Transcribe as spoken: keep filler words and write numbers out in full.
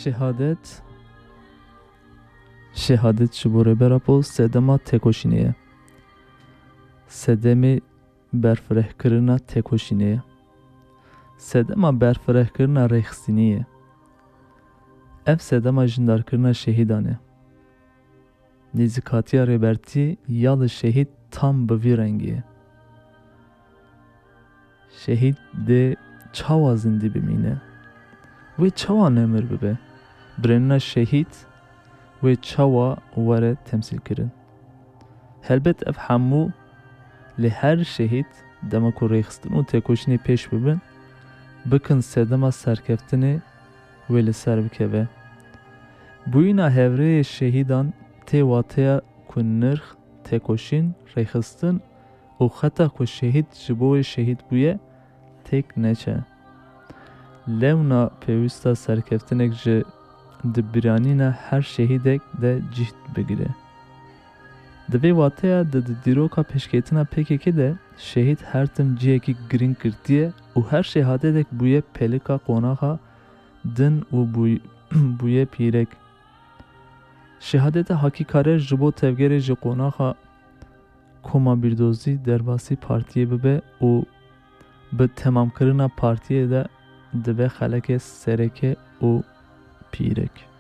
Şehadet, şehadet ji bo Rêber Apo sedema têkoşînê ye. Sedemê berfirehkirina têkoşînê ye. Sedema berfirehkirina rêxistinî ye. Ev sedema jindarkirina şehîdan e. Nêzîkatiya Rêbertî ya li şehîd tam bi vî rengî ye. Şehîd dê çawa zindî bimîne? Wê çawa nemir bibe? Birênina şehîd wê çawa were temsîlkirin? Helbet ev hemû, lê her şehîd dema ku rêxistin û têkoşînê pêş bibin, bikin sedema serkeftinê wê li ser bikeve. Bûyîna hevrêyê şehîdan tê wateya ku nirx, têkoşîn, rêxistin û xeta ku şehîd ji bo wê şehîd bûye, têk neçe. Lewna pêwîsta serkeftinek ji di bîranîna her şehîdek de cîh bigire. Di vê wateya de di dîroka pêşketina P K K de şehîd her tim cihekî girîng girtiye û her şehadetek bûye pelika qonaxa din û bûy-, bûye pîrek. Şehadeta Hakî Karer ji bo tevgerê ji qonaxa koma bîrdozî derbasî partiyê bibe û bi temamkirina partiyê de dibe xelekê sereke û pîrek.